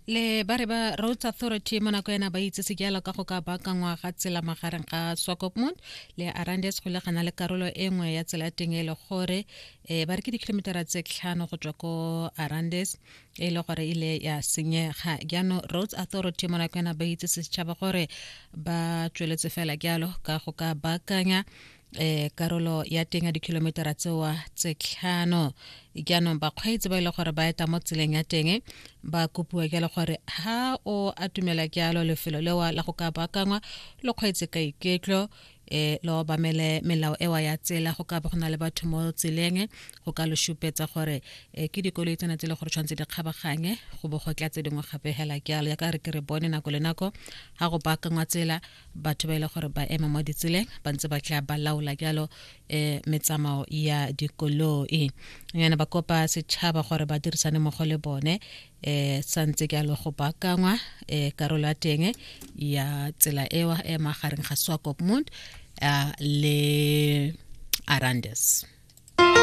Le ba re ba Roads Authority mo nako ena ba itsese jalo ka go ka baakangwa ga tsela magareng ga Swakopmund le Arandis go legana le karolo e nngwe ya tsela ya teng e le gore um ba re ke dikilometara tse tlhano go tswa ko Arandis e le gore ile ya senyega. Jaanong Roads Authority mo nako ena ba itsese setšhaba gore ba tsweletse fela jalo ka go ka baakanya eh karolo ya teng ya dikilometara tsewa tse tlhano. Jaanong bakgweetsi ba e le gore ba eta mo tseleng ya teng ba kopiwa jalo gore ha o atumela jalo lefelo lewa la go ka baakangwa, lo kgweetse ka iketlo, lo obamele melao ewa ya tsela. Go ka ba go na le batho mo tseleng go ka lo supetsa gore ke dikoloi tsena tse le gore tshwanetse di kgabaganye go bo go tla tse dingwe gape hela jalo, ya ka re ke re bone nako le nako ga go baakangwa tsela, batho ba e le gore ba ema mo ditseleng ba ntse ba tla ba laola jalo metsamao ya dikoloi. Yana ba kopa setšhaba gore ba dirisane mmogo le bone santse jalo go baakangwa karolo ya teng ya tsela ewa e magareng ga Swakopmund le Arandis.